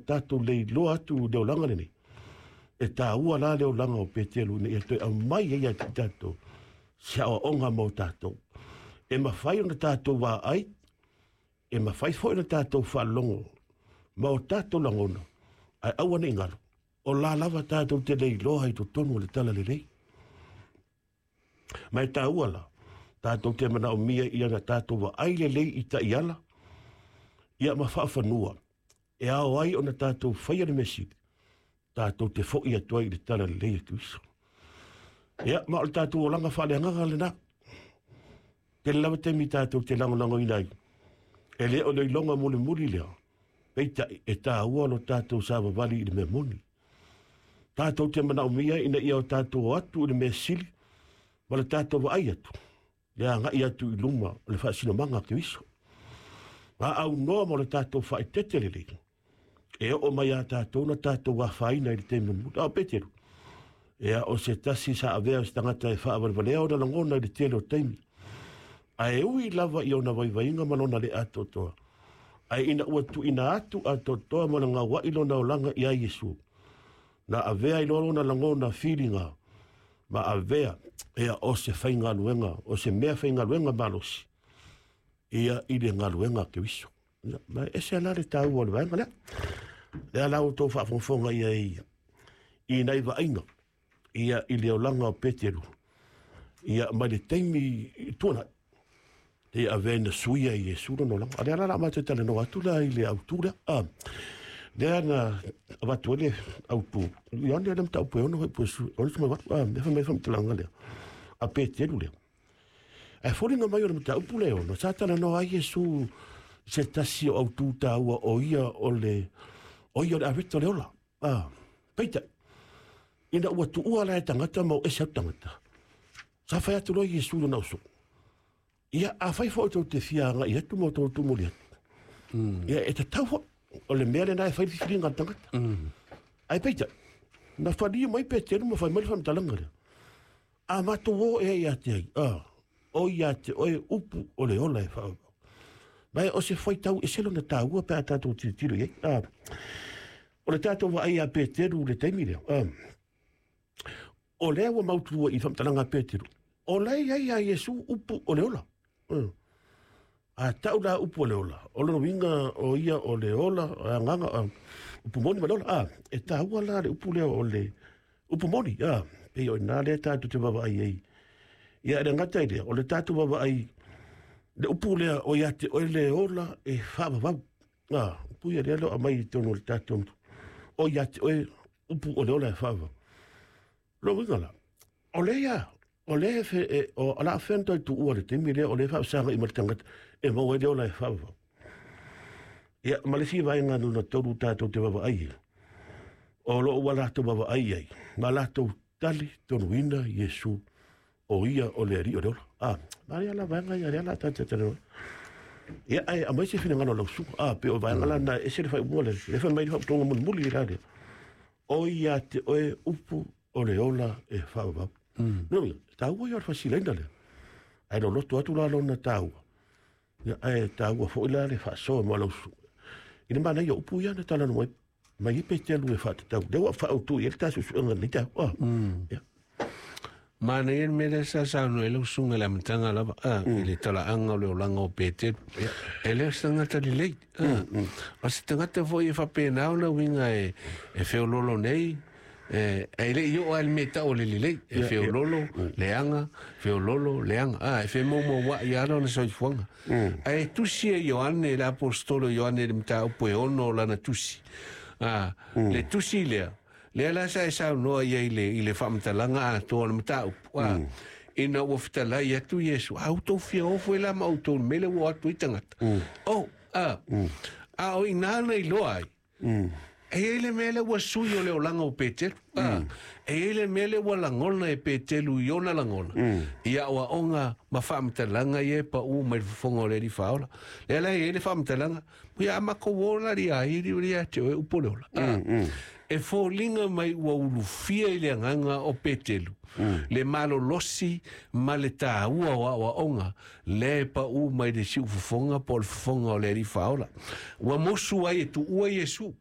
tatou leiloa atu i le olaga lenei, e taua la le olaga o Peteru ina ia toe aumai ai ia te tatou se aoaoga mo tatou. E mafai ona tatou vaai, e mafai foi ona tatou faalogo ma o tatou lagona, ae aua ne i galo, o la lava tatou te leiloa i totonu o le talalelei. Ma e taua la, tatou te manaomia ia na tatou vaai lelei i taiala, ia ma faafanua, e ao ai ona tatou faia le mea sili, tatou te foi atu ai i le talalelei a Keriso. Ia, ma o le tatou olaga faaleagaga lena. Tele lava taimi tatou te lagolagoina ai, e le o le iloga mulimuli lea, peitai e taua lo tatou savavali i le mea moni. Tatou te manaomia ina ia o tatou o atu i le mea sili ma le tatou vaai atu, le agai atu i luma o le faasinomaga a Keriso. A aunoa mo le tatou faaeteete lelei, e oo mai ia tatou na tatou afaina i le taimi mulimuli. A o Peteru, ia o se tasi sa avea o se tagata e faavalevalea ona lagona i le tele o taimi. Ae ui lava i ona vaivaiga ma lona le atoatoa, ae ina ua tuuina atu atoatoa ma le gauai lona olaga ia Iesu, na avea ai loa lona lagona filiga, ma avea ia o se faigaluega, o se mea faigaluega malosi ia i le galuega a Keriso. Ia, ma e ese la le taua o le vaega lea. Lea la ua outou faafogafoga i ai i nai vaaiga ia i le olaga o Peteru ia mai le taimi i tuanai e avea ina suia i Iesu lona olaga. A lea la o le a matou talanoa atu la i le autu lea. Ah, lea na avatu ai le autu. Ioane le mataupu e ono foi po su, ono mai ah, mea fai mai faamatalaga lea. A Peteru lea. Ae foliga mai o le mataupu lea e ono, sa talanoa ai Iesu i se tasi o autu taua o ia o le, o ia o le aveta o le ola. Ah, peitai, ina ua tuua la e tagata ma o ese atu tagata, sa fai atu loa Iesu i lona uso, ia, afai foi tou te fia agai atu ma outou tumuli atu, ia, e tatau foi, o le mea lena e fai le filifiliga a le tagata. Ae peitai, na faliu mai Peteru ma fai mai le faamatalaga lea, a matou o ea ia te ai, o ia te oe upu o le ola e faaauau. Ma o se faitau ese lona taua pe a tatou tilotilo i ai. O le tatou vaai ia Peteru i le taimi lea, o lea ua mautu i le faamatalaga a Peteru, o la e i ai ia Iesu upu o le ola. A tau la upu o le ola, o lona uiga o ia o le ola, o le agaga, upu moni ma le ola. E taua la le upu lea o le upu moni, pei o i ina lea tatou te vaavaai ai. Ia, e le gata i lea, o le tatou vaavaai, le upu lea o ia te oe le ola e faavavau. Upu ia lea o lo o aumai i totonu o le tatou, o ia te oe upu o le ola e faavavau. Lona uiga la, o lea ia, o lea e, o la fea na toe tuua i le taimi lea, o lea e faafesagai ma le tagata e maua ai le ola e faavavau. Ia, ma le isi vaega lona tolu tatou te vaavaai ai, o lo o ua latou vaavaai ai, ma latou talitonuina Iesu o ia o le Alii o le ola. Ma lea la vaega ia, lea la tatou talanoa. Ia, ae aumai se finagalo o lau susuga. Pei o vaega la na e ese le faaiuga lea, lea fai mai le faamatalaga mulimuli la lea. O ia te oe upu o le ola e faavavau. Lona uiga, e taua ia o le fasilaina lea. Ae loloto atu la lona taua. Ia, ae taua foi la le faasoa ma lau susuga. I le manaia o upu ia na talanoa mai mai ai Peteru e faatatau. Lea ua faaautu i ai le ta suesuega i lenei taeao. Ia. Manaia le mea lea sa saunoa ai lau susuga i le amataga lava, i le talaaga o le olaga o Peteru. E le o se tagata lelei. O se tagata foi e faapena ona uiga e feololo nei, e le i oo lava i le mea e tau o le lelei, e feololo, leaga, feololo, leaga. E femoumouai lava lona soifuaga. Ae tusi e Ioane, le aposetolo Ioane i le mataupu e 6 o lana tusi. Le tusi lea, lea la sa e saunoa i ai i le faamatalaga atoa o le mataupu. Ina ua fetalai atu Iesu, a outou fia o foi la ma outou i le mea lea ua o atu ai tagata. A o i ina na iloa ai, e i ai le mea lea ua sui o le olaga o Peteru. E i ai le mea lea ua lagona e Peteru i ona lagona, i aoaoga ma faamatalaga ia e pau mai le fofoga o le Alii Faaola. Lea la e i ai le faamatalaga, ia a matou o la ia ai li ia te oe upu o le ola. E foliga mai ua ulufia i le agaga o Peteru, le malolosi ma le taua o aoaoga lea e pau mai le siufofoga po o le fofoga o le Alii Faaola. Ua mosu ai e tuua Iesu.